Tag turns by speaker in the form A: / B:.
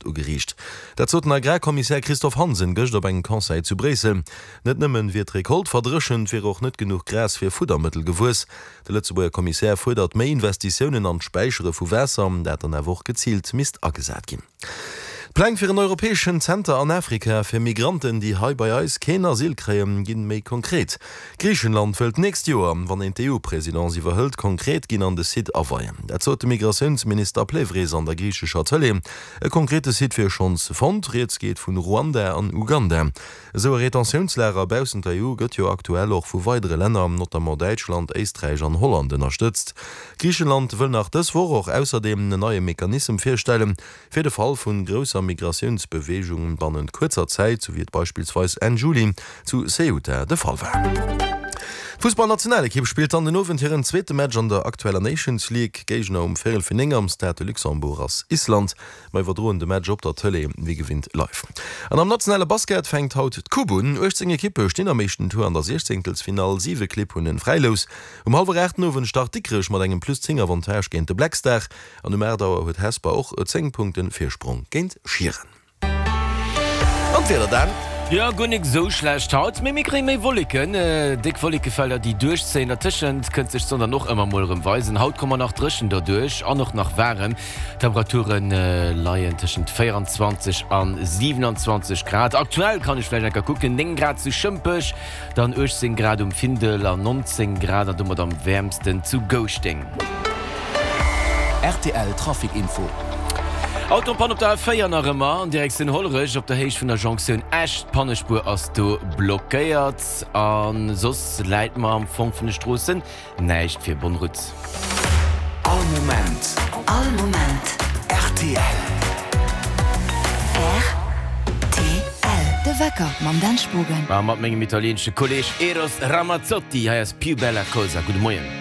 A: Ugeriicht. Dat sot den Agrarkommissär Christophe Hansen gëscht op engem Conseil zu Bréissel. Net nëmmen wier d'Recolte verdréchent, wier och net genuch Gras fir Fuddermëttel gewuess. De Lëtzebuerger Kommissär fuerdert méi Investitiounen an d'Späichere vu Waasser, dat dann awer och geziilt misst agesat ginn. D'Pläng fir en europäeschen Zenter an Afrika fir Migranten, déi hei bei eis keen Asyl kréien, ginn méi konkret. Griichenland wëll d'nächst Joer, wann een d'EU-Presidence iwwerhëlt, konkret ginn an de Site aweien. Dat sot de Migratiounsminister Plevris an der griichescher Tëlee. E konkrete Site wier schonns fonnt, rieds geet vun Ruanda an Uganda. Esou e Retentiounslager baussent der EU gëtt jo aktuell och vu weidere Länner, notamment Däitschland, Éisträich an Holland ënnerstëtzt. Griichenland wëll nach dës Woch och ausserdeem en neie Mechanissem virstellen, Fir de Fall vun grousser Migratiounsbeweegung bannent kuerzer Zäit, sou wéi et beispillsweis Enn Juli zu Ceuta de Fall war. D'Fussballnationalekipp spillt dann den Owend hiren zweete Match an der aktueller Nations League. Géigner um Véierel fir 9 am Stade de Luxembourg ass Island. Mer iwwerdroen de Match op der Tëlee wéi gewinnt live. An am nationale Basket fänkt haut d'Coupe un. 18 Ekippe stinn am éischten Tour an der Siechzéngtelsfinall, 7 Clibb hunn en Fräilous. Um hallwer 8 den Owend start Dikrech mat engem plus 10 Avantage géint de Black Star. An um 8 Auer huet Hesper och e 10 Punkten Virsprong géint Schieren. An d'Wieder dann?
B: Jo, guer nik esou schlecht haut, mee mir kréie méi Wolleken, déck Wollekefelder déi duerchzéien. Dertëschent kënnt sech d'Sonn dann och ëmmer mol erëm weisen. Haut komme mer nach dréchen derduerch an och nach waarem. D'Temperature leien tëschent 24 an 27 Grad. Aktuell kann ech vläicht eng Kéier kucken, 9 Grad zu Schëmpech, Dann 18 Grad um Findel an 19 Grad an domat am wäermsten zu Gouschteng.
C: Rtl Trafic Info.
B: Auto en Panne op der A4 nach ëmmer an Direktioun Hollerech op der Héicht vun der Jonktioun Esch. D'Pannespuer ass do blockéiert a soss läit mer am Fong vun de Stroossen Näischt fir Bonne route.
C: All Moment.
D: All Moment.
C: Rtl.
D: Rtl. De Wecker mam Dan Spogen.
B: A mat mengem italieenesche Kolleeg Eros Ramazzotti. Hei ass Più bella cosa. Gudde Moien.